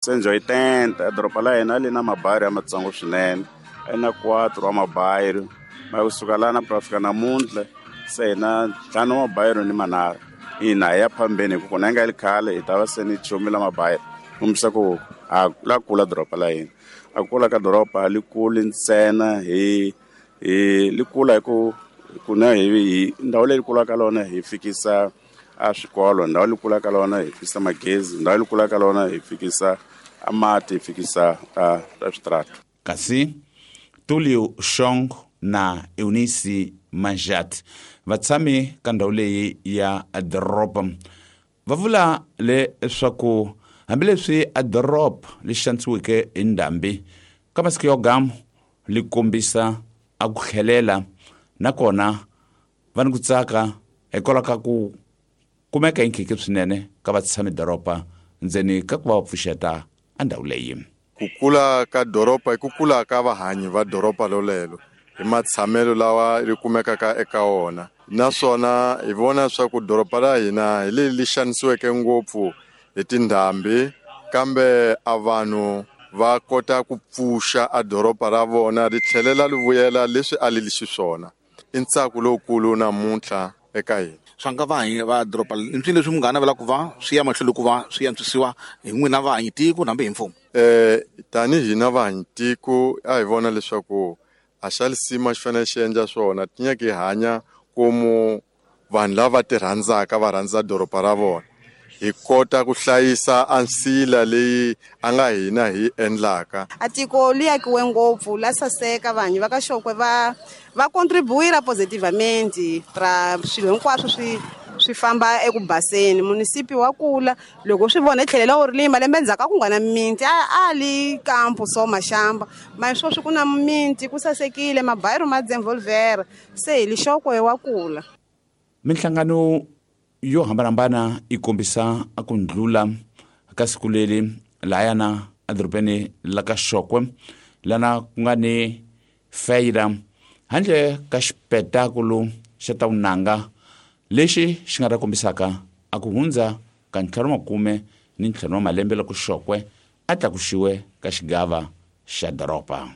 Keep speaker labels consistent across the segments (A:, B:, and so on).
A: 1980 a doroba la hina li na mabayiro ya matsongo swinene, a na 4 wa mabayiro ma kusuka lana ku ta fika namuntlha se hina 5 wa mabayiro ni manharhu. Ina hi ya phambeni hi ku kona yi nga li khale hi ta va se ni chumi la mabayiro, kombisa ku a la kula doroba la hina. A kula ka doroba li kuli ntsena hi li kula hi ku kuna hi ndhawu leyi kulaka lona hi fikisa a swikolo, ndhawu leyi kulaka lona hi fikisa magezi, ndhawu leyi kulaka lona hi fikisa a mati, hi fikisa a switarata.
B: Kasi Tulio Shong na Eunice Manjat vatshami ka ndhawu leyi ya doroba va vula leswaku hambileswi a doroba li xanisiweke hi ndhambi ka masiku yo gamu li kombisa a ku tlhelela, nakona va ni ku tsaka hikwalaho ka ku kumeka hi nkhikhi swinene ka vatshami doroba ndzeni ka ku va va pfuxeta a ndhawu leyi.
C: Ku kula ka doroba i ku kula ka vahanyi va doroba lolelo hi matshamelo lawa ri kumekaka eka wona, naswona hi vona swa ku doroba la hina hi leri li xanisiweke ngopfu hi tindhambi, kambe a vanhu va kota ku pfuxa a doroba ra vona ri tlhelela ri vuyela leswi a li li xiswona. I ntsako lowukulu namuntlha eka hina.
D: Swa nga vahanyi va doroba i swilo leswi munghana navelaka ku va swi ya mahlweni ku va swi antswisiwa hi n'wina vahanyi tiko hambi hi mfumo?
C: Tanihi hina vahanyi tiko a hi vona leswaku a xa lisima xi fanele xi endla swona, ti nyaka hi hanya komu vanhu lava ti rhandzaka va rhandza doroba ra vona, hi kota ku hlayisa a nsila leyi a nga hina hi endlaka.
E: A tiko li akiwe ngopfu la saseka, vanhu va ka Xokwe va contribuira positivamente ra swilo hinkwaswo swi famba eku baseni. Munisipi wa kula loko swi vona hi tlhelela wu ri leyi malembe endzhaku a ku nga na mimiti, a li kampo so maxamba ma sweswi ku na mimiti, ku sasekile, mabayiro ma dzenvolvera, se hi li Xokwe wa kula.
B: Minhlangano yo hambanahambana yi kombisa a ku ndlula ka siku leri lahayana edorobeni la ka Xokwe, lana ku nga ni feira handle ka xipetakulu xa ta vunanga lexi xi nga ta kombisaka a ku hundza ka 55 wa malembe loko Xokwe a tlakuxiwe ka xigava xa doroba.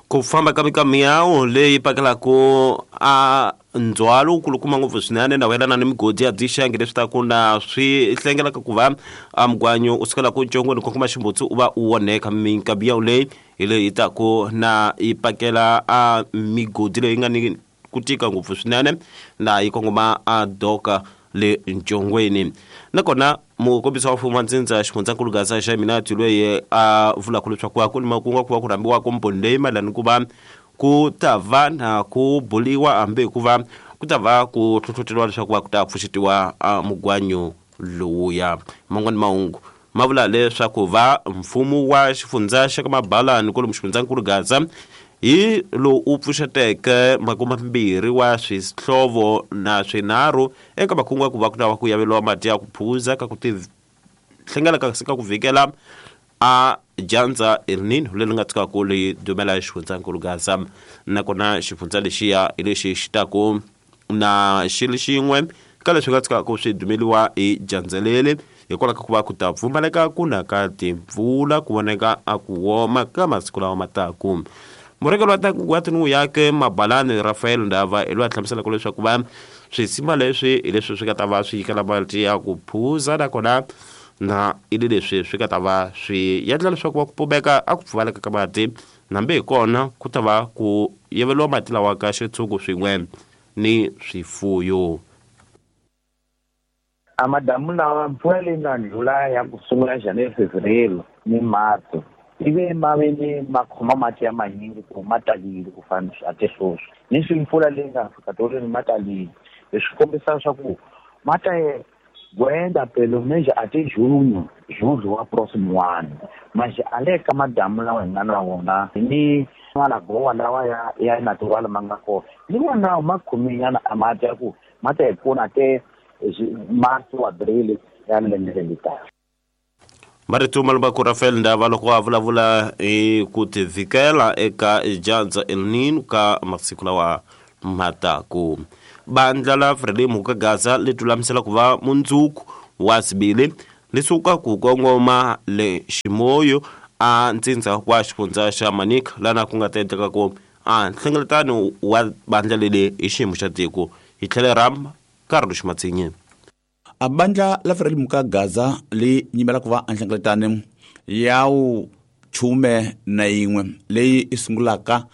F: Ku famba ka mikamiyawu leyi pakelaka a ndzhwalo wukulukumba ngopfu swinene na wayelana ni migodi ya dzixangi leswi ta ku na swi hlengelaka ku va a mugwanyo u sukela ku ncongweni kongoma ximbutsi u va u onheka. Mikamiyawu leyi hi leyi taku na yi pakela a migodi leyi nga ni ku tika ngopfu swinene na yi kongoma a doka le ncongweni. Nakona mukombisi wa mfumo wa ndzindza xifundzankulu Gaza xa Minati loyi a vulaka leswaku a ku ni makungu ku va ku rhambiwa komboni leyi mayelana ku va ku ta va na ku buliwa hambi hikuva ku ta va ku hlohloteriwa leswaku va ku ta pfuxetiwa a mugwanyo lowuya. Man'wani mahungu ma vula leswaku va mfumo wa xifundza xa ka Mabalani kwalomu xifundzankulu Gaza hi lowu u pfuxeteke makume mambirhi wa swihlovo na swinharhu eka makungu ya ku va ku ta va ku yaveriwa mati ya ku phuza ka ku ti hlengela ka ka ku vhikela a dyandza El Nino leri nga tshukaka ri dumela xifundzankulu Gaza. Nakona xifundza lexiya hi lexi xi taku na xilo xin'we ka leswi nga tshukaka swi dumeliwa hi dyandza leri hikwalaho ka ku va ku ta pfumaleka ku na ka timpfula ku voneka a ku woma ka masiku lawa ma taku. Murhangeri wa tin'we yake Mabalani Rafael Ndava hi loyi a hlamuselaka leswaku va swisima leswi hi leswi swi nga ta va swi nyikela mati ya ku phuza, nakona na i leswi swi nga ta va swi endla leswaku va ku pumeka a ku pfumaleka ka mati, nambe hi kona ku ta va ku yeveliwa mati lawa ka xitshungu swin'we ni swifuyo.
G: A madamu lawa mpfula leyi nga ndlula ya ku sungula January, Fevereiro ni March ivi ma ve ni ma khoma mati ya manyingi ku ma talile ku fana a te sweswi ni swi mpfula leyi nga fika tolweni ma talile, leswi kombisa swa ku ma ta gwenda pelo meje a te junho julho wa próximo ano. Mas a le ka madamu lawa hi nga na wona ni malagowa lawa ya natural ma nga kona ni wona ma khominyana a mati ya ku ma ta hi pfuna te marzo abril ya lembe leri taka.
F: Marito malumba ku Rafael Ndava loko a vulavula hi ku tivhikela eka dyandza El Nino ka masiku lawa mataku. Bandla la Frelimo ka Gaza li lulamisela ku va mundzuku wa sibili Li suka ku kongoma le Ximoyo a ntsindza wa xifundza xa Manica lana ku nga ta endleka ku a nhlengeletano wa bandla leli hi xiyimo xa tiko hi tlhele ram Carlos Matsinye.
B: A bandla la Frelimo ka Gaza li nyimela ku va nhlengeletano ya wu 11 leyi i sungulaka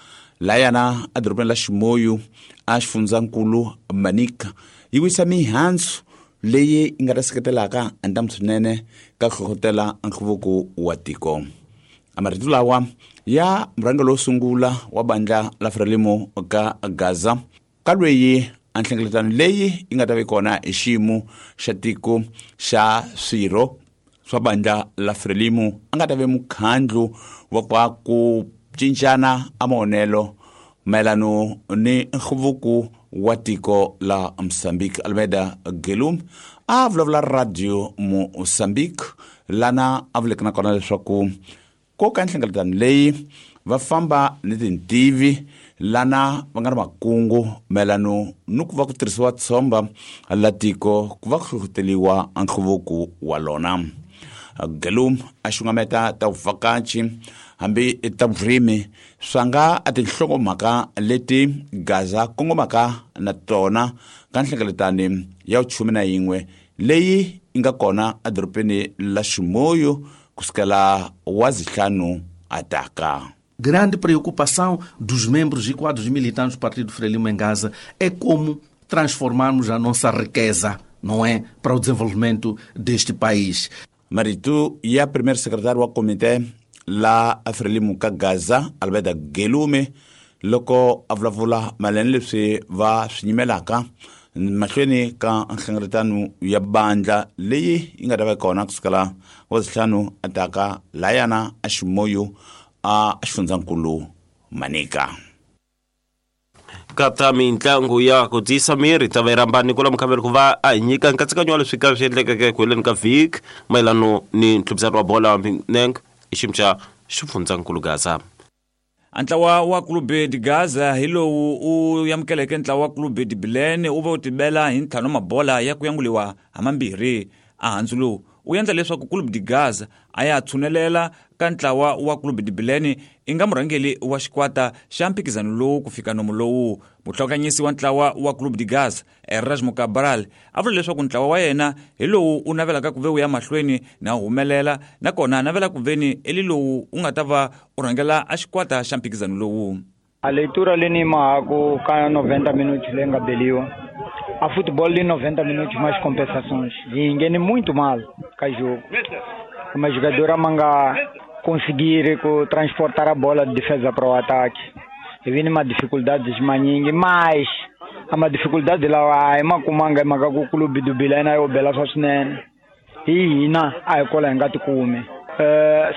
B: layana edorobeni la Ximoyo a xifundzankulu Manica yi wisa mihandzu leyi yi nga ta seketelaka ntamu swinene ka hlohlotela nhluvuko wa tiko. A marito lawa ya murhangeri wo sungula wa bandla la Frelimo ka Gaza ka lweyi a nhlengeletano leyi yi nga ta va kona hi xiyimo xa tiko xa swirho swa bandla la Frelimo a nga ta ve mukhandlu wa kwa ku cincana a maonelo mayelano ni nhluvuko wa tiko la Mozambique. Almeida Gelum a vulavula radio Mozambique lana a vuleke na kona leswaku ko ka nhlengeletano leyi va famba ni tintivi lana va nga ri makungu mayelano ni ku va ku tirhisiwa tshomba la tiko ku va ku hlohloteriwa nhluvuko wa lona. Gelum a xungameta ta vuvhakachi hambi ta vurimi swa nga a tinhlokomhaka leti Gaza kongomaka na tona ka nhlengeletano ya 11 leyi yi nga kona edorobeni la Ximoyo kusukela wa zihlanu ataka.
H: Grande preocupação dos membros e quadros militantes do Partido Frelimo em Gaza é como transformarmos a nossa riqueza, não é, para o desenvolvimento deste país.
B: Marito ya primeiro secretário wa comité la Frelimo ka Gaza Alberta Gelume loko a vulavula mayelana leswi va swi nyimelaka mahlweni ka nhlengeletano ya bandla leyi yi nga ta va kona kusukela wa zihlanu ataka layana a Ximoyo a xifundzankulu Manica.
F: Kata mintlangu ya ku tiyisa miri ta va yi rhamba Nicola Mukhaveli ku va a hi nyika nkatsakanyo wa leswi ka swi endlekeke eku heleni ka vhiki mayelano ni ntlhuphisano wa bolo ya milenge hi xiyimo xa xifundzankulu Gaza.
I: A ntlawa wa Clube de Gaza hi lowu u amukeleke ntlawa wa Clube de Bilene wu va wu tibela hi ntlhanu mabola ya ku yanguliwa ha mambirhi. A handzu lowu wu endla leswaku Clube de Gaza a ya tshunelela ka ntlawa wa Clube de Bilene i nga murhangeri wa xikwata xa mphikizano lowu ku fika nomu lowu. Muhlokanyisi wa ntlawa wa Clube de Gaza Erasmo Cabral a vula leswaku ntlawa wa yena hi lowu u navelaka ku ve wu ya mahlweni na humelela nakona a navela ku veni eli lowu u nga ta va u rhangela a xikwata xa mphikizano lowu.
J: A leitura leni mahaku ka 90 minutos leyi nga beliwa a futebol de 90 minutos mais compensações e engene muito mal ka jogo. Uma jogadora manga conseguir transportar a bola de defesa para o ataque. E vem uma dificuldade maningi, mas uma dificuldade lá é uma kumanga maka ku clube do Bilena yo bela swa swinene. Hi hina a hi kola hi nga tikumi.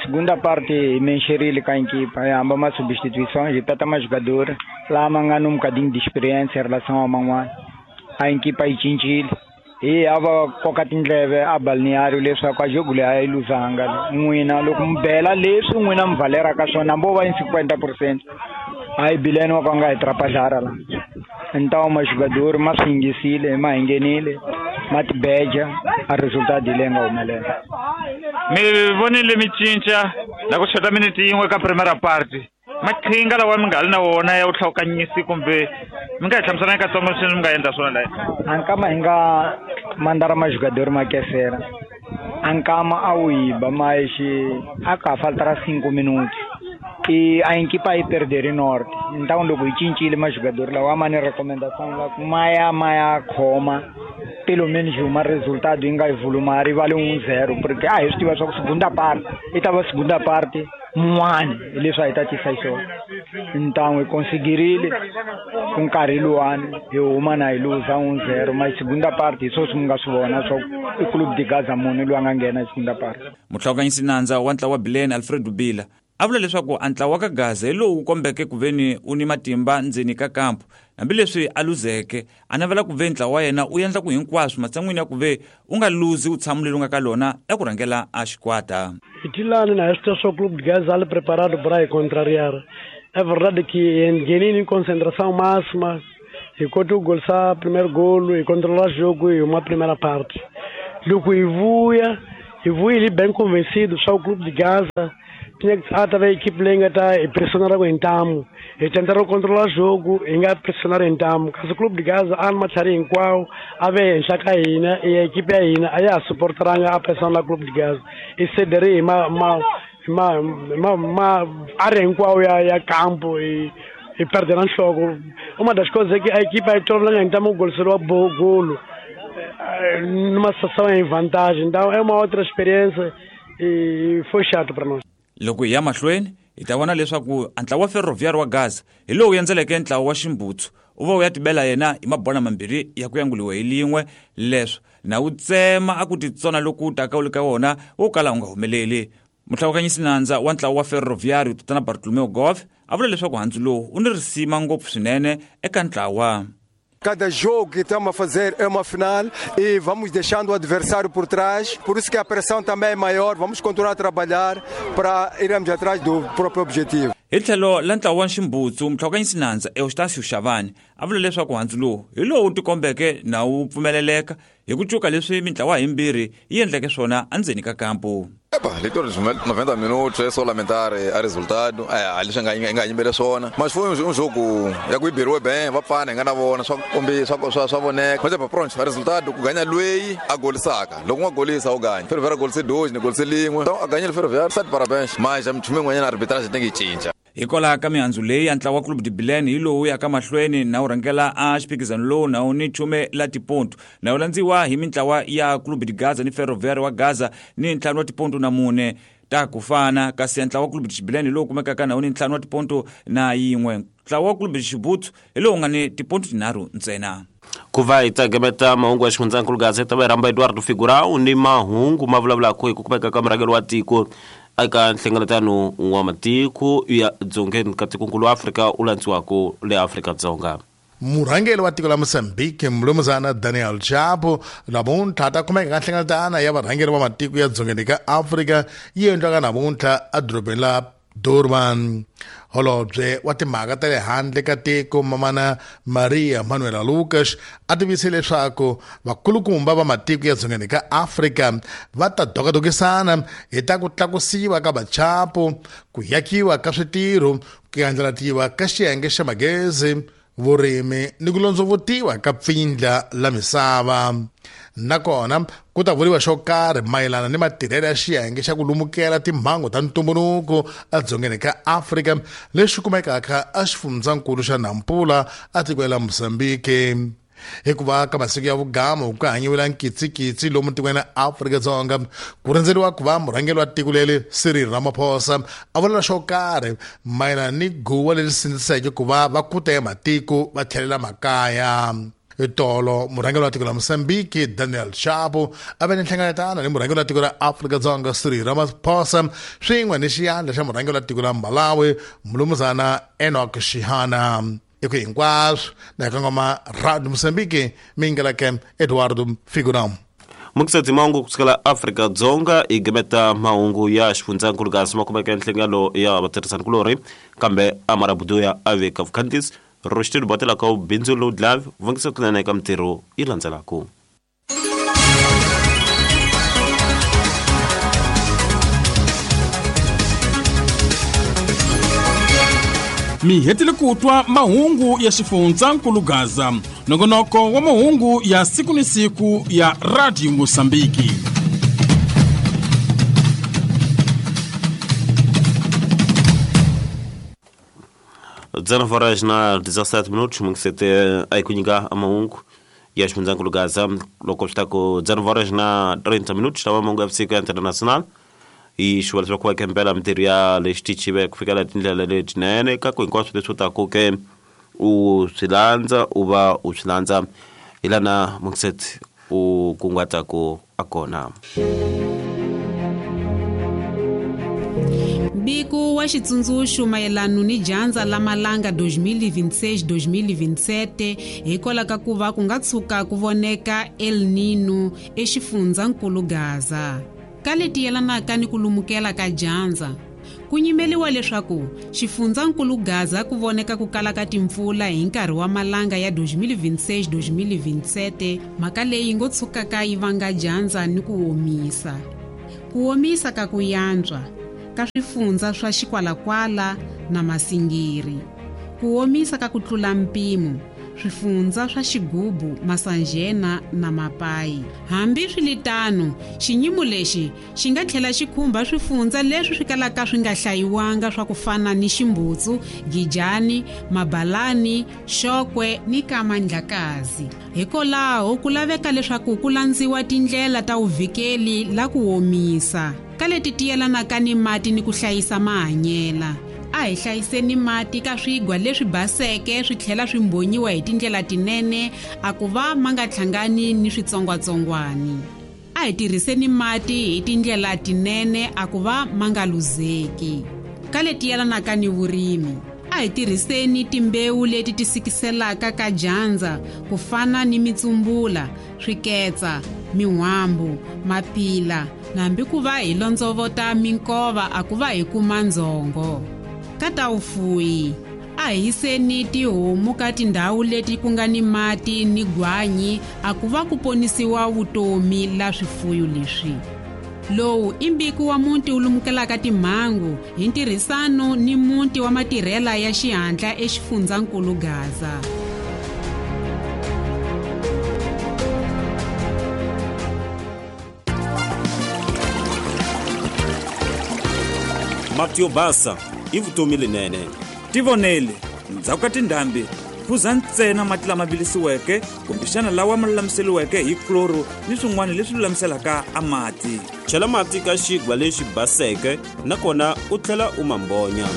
J: Segunda parte mexerile ka equipa, hamba ma substituições, hi tata ma jogador lá manga num bocadinho de experiência em relação ao man'wana. A equipa yi cincile. Hi hava koka tindleve a balneário leswaku a jogo leyi a yi luzanga n'wina loko mi bela leswi n'wina mi valeraka swona hambi wo va yi 50% a yi bileni wa ka nga hi trapajara la. Então majogador ma swi yingisile ma hi nghenile ma tibeja a resultado leyi nga humelela.
I: Mi vonile mi cinca la ku xota minute yin'we ka primera parte maqhinga lawa mi nga ri na wona ya vuhlawukanyisi kumbe mi nga hi hlamusela katsongo sweswi mi nga endla swona laha?
J: A nkama hi nga mandara majogador ma kesera a nkama a wu yiba ma xi a ka ha faltara 5 minutos e a equipa yi perdere norte. Então loko hi cincile majogador lawa ma ni recomendação la ku ma ya khoma pelo menos uma resultado yi nga yi vuluma rivali 1-0 porque a hi swi tiva swa ku segunda parte yi ta va segunda parte mun'wani hi leswi a hi ta tisa xiswona. Então hi conseguirile ku nkarhi luwani hi huma na hi luza 1-0 ma segunda parte hi swoswi mi nga swi vona swa i Clube de Gaza munhu loyi a nga nghena hi segunda parte.
I: Muhlawukanyisi nandza wa ntlawa wa Bilene Alfred Dubila a vula leswaku a ntlawa ka Gaza hi lowu kombeke ku veni u ni matimba ndzeni ka kampu hambileswi a luzeke a navela ku ve ntlawa wa yena u endla ku hinkwaswo matshan'wini ya ku ve u nga luzi u tshamo leri u nga ka lona ya ku rhangela a xikwata.
K: Itilani na esta só Clube de Gaza ali preparado para contrariar. É verdade que em concentração máxima, enquanto o gol sa primeiro golo e controlar o jogo e uma primeira parte. Loko hi vuya Hi vuyile bem convencido swa ku Clube de Gaza tinha que a ta va equipe leyi nga ta hi pressionar hi ntamu, hi tenta ro controlar jogo, hi nga pressionar hi ntamu. Kasi Clube de Gaza a ni matlhari hinkwawo a ve henhla ka hina, i equipe ya hina a ya ha supporteranga a pressiona la Clube de Gaza. I cedere hi ma ma ma ma ma área hinkwawo ya campo hi perde na nhloko. Uma das coisas é que a equipe aí toda ntamu goliseriwa golo numa situação em vantagem, então é uma outra experiência e foi chato para nós.
I: Loko hi ya mahlweni hi ta vona leswaku ntlawa wa Ferroviário wa Gaza hi lowu endzeleke ntlawa wa Ximbutsu u va u ya tibela yena hi mabona mambirhi ya ku yanguliwa hi lin'we, leswo na wu tsema a ku titsona loku taka wu le ka wona wo kala wu nga humeleli. Muhlawukanyisi nandza wa ntlawa wa Ferroviário Tatana Bartolomeu Gove a vula leswaku handzu lowu wu ni risima ngopfu swinene eka ntlawa.
C: Cada jogo que estamos a fazer é uma final e vamos deixando o adversário por trás, por isso que a pressão também é maior, vamos continuar a trabalhar para irmos atrás do próprio objetivo.
I: Hi tlhelo la ntlawa wa Ximbutsu, muhlawukanyisi nandza Eustácio Xavani a vula leswaku handzu lowu hi lowu wu tikombeke na wu pfumeleleka hi ku cuka leswi mintlawa himbirhi yi endleke swona endzeni ka kampu.
L: Epa, leitura dos 90 minutos é só lamentar o resultado. É, eles ganham swona. Mas foi jogo ya ku iberiwe bem, vapfana hi nga na vona swa kombisa swa voneka. Mas pronto, o resultado ku ganha lweyi a golisaka. Loko nga golisa u ganya. Ferroviário golise 2, ni golise lin'we. Então a ganhile Ferroviário, sete parabéns. Mas a minchumu yin'wanyana arbitragem tem que cinca.
I: Hikwalaho ka mihandzu leyi ya ntlawa wa Clube de Bilene hi lowu yaka mahlweni na wu rhangela a xiphikizano lowu na wu ni chume la tipontu, na wu landziwa hi mintlawa ya Clube de Gaza ni Ferroviário wa Gaza ni 5 wa tipontu na 4 ta ku fana, kasi ntlawa wa Clube de Bilene hi lowu kumekaka na wu ni 5 wa tipontu na 1. Ntlawa wa Clube de Xibutsu hi lowu nga ni tipontu 3 ntsena.
F: Ku va hi tsagemeta mahungu ya xifundzankulu Gazeta va rhamba Eduardo Figurão ni mahungu ma vulavulaka hi ku kumeka ka murhangeri wa tiko eka nhlengeletano wa matiko ya dzongeni ka tikonkulu wa Afrika u landziwaka le Afrika-Dzonga.
M: Murhangeri wa tiko la Mozambique Mlumuzana Daniel Chapo namuntlha ta kumeka ka nhlengeletano ya varhangeri va matiko ya dzongeni ka Afrika yi endliwaka namuntlha edorobeni la Durban. Holobye wa timhaka ta le handle ka tiko Mamana Maria Manuela Lucas a tivise leswaku vakulukumba va matiko ya dzongeni ka Afrika va ta dokadokisana hi ta ku tlakusiwa ka vachapo, ku yakiwa ka switirho, ku andlalatiwa ka xiyenge xa magezi, vurimi ni ku londzovutiwa ka pfindla la misava. Nakona ku ta vuriwa xo karhi mayelana ni matirhelo ya xiyenge xa ku lumukela timhangu ta ntumbuluko edzongeni ka Afrika lexi kumekaka exifundzankulu xa Nampula etikweni la Mozambique. Hikuva ka masiku ya vugama ku hanyiwela nkitsikitsi lomu tikweni ra Afrika-Dzonga ku rindzeriwa ku va murhangeri wa tiko leri Cyril Ramaphosa a vula xo karhi mayelana ni guwa leri sindziseke ku va va kuta ya matiko va tlhelela makaya. Tolo murhangeri wa tiko la Mozambique Daniel Chapo a ve ni nhlengeletano ni murhangeri wa tiko ra Afrika-Dzonga Cyril Ramaphosa swin'we ni xiyandla xa murhangeri wa tiko la Malawi Mlumuzana Enoch Shihana. Eko hinkwaswo na kangoma Radio Mozambique mingalake Eduardo Figurão.
F: Mukisetsi mahungu kusukela Afrika-Dzonga hi gimeta mahungu ya xifundzankulu kasi ma kumeka nhlengelo ya vatirhisanikulorhi kambe Amara Buduya a veka vukhandzisi Roxitilo batelaka bindzu lowu dlave vangisa kunene eka mitirho yi landzelaka.
N: Mi hetile ku twa mahungu ya xifundzankulu Gaza, nongonoko wa mahungu ya siku ni siku ya Radio Mozambique.
F: Horas na 17 minutos, mungisete aí kunyika mahungu ya xifundzankulu Gaza loko swi ta ku 19 horas na 30 minutos tava mahungu ya vusiku ya international i xivula leswaku va kempela mitirho ya le xitichive ku fikela tindlela letinene ka ku hinkwaswo leswi u taku ke u swi landza u va u swi landza hi lana mungisete u kunguhataku a kona.
O: Mbiko wa xitsundzuxo mayelana ni dyandza la malanga 2026-2027 hikwalaho ka ku va ku nga tshuka ku voneka El Nino exifundzankulu Gaza. Ka leti yelanaka ni ku lumukela ka dyandza, ku nyimeliwa leswaku xifundzankulu Gaza ku voneka ku kala ka timpfula hi nkarhi wa malanga ya 2026-2027, mhaka leyi ngo tshukaka yi vanga dyandza ni ku omisa. Ku omisa ka ku yantswa ka swifundza swa Xikwalakwala na Masingiri. Ku omisa ka ku tlula mpimo swifundza swa Xigubu, Masanjena na Mapayi. Hambi swi xiyimo lexi xi nga tlhela xi khumba swifundza leswi swi kalaka swi nga hlayiwanga swa ku fana ni Ximbutsu, Gijani, Mabalani, Xokwe ni Kamandlakazi. Hikwalaho ku laveka leswaku ku landziwa tindlela ta vuvikeli la ku omisa ka leti tiyelanaka ni mati ni ku hlayisa mahanyela. A hi hlayiseni mati ka swigwa leswi baseke swi tlhela swi mbhonyiwa hi tindlela tinene a ku va ma nga hlangani ni switsongwatsongwani. A hi tirhiseni mati hi tindlela tinene a ku va ma nga luzeki. Ka leti yelanaka ni vurimi, a hi tirhiseni timbewu leti ti sikiselaka ka dyandza ku fana ni mitsumbula, swiketsa, min'wambu, mapila, nambi ku va hi londzovota minkova a ku va hi kuma ndzhongo. Ka ta vufuwi, a hi yiseni tihomu ka tindhawu leti ku nga ni mati ni gwanyi a ku va ku ponisiwa vutomi la swifuyo leswi. Lowu i mbiko wa muti wu lumukelaka timhangu hi ntirhisano ni muti wa matirhela ya xihatla exifundzankulu Gaza.
F: Mati yo basa i vutomi lenene.
I: Tivonele, ndzhaku ka tindhambi phuza ntsena mati lama vilisiweke kumbexana lawa ma lulamiseriweke hi kloro ni swin'wana leswi lulamiselaka a mati.
F: Chela mati ka xigwa lexi baseke nakona u tlhela u ma mbonya.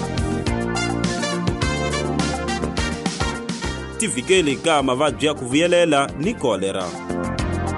F: Tivikeli ka mavabyi ya ku vuyelela ni kolera.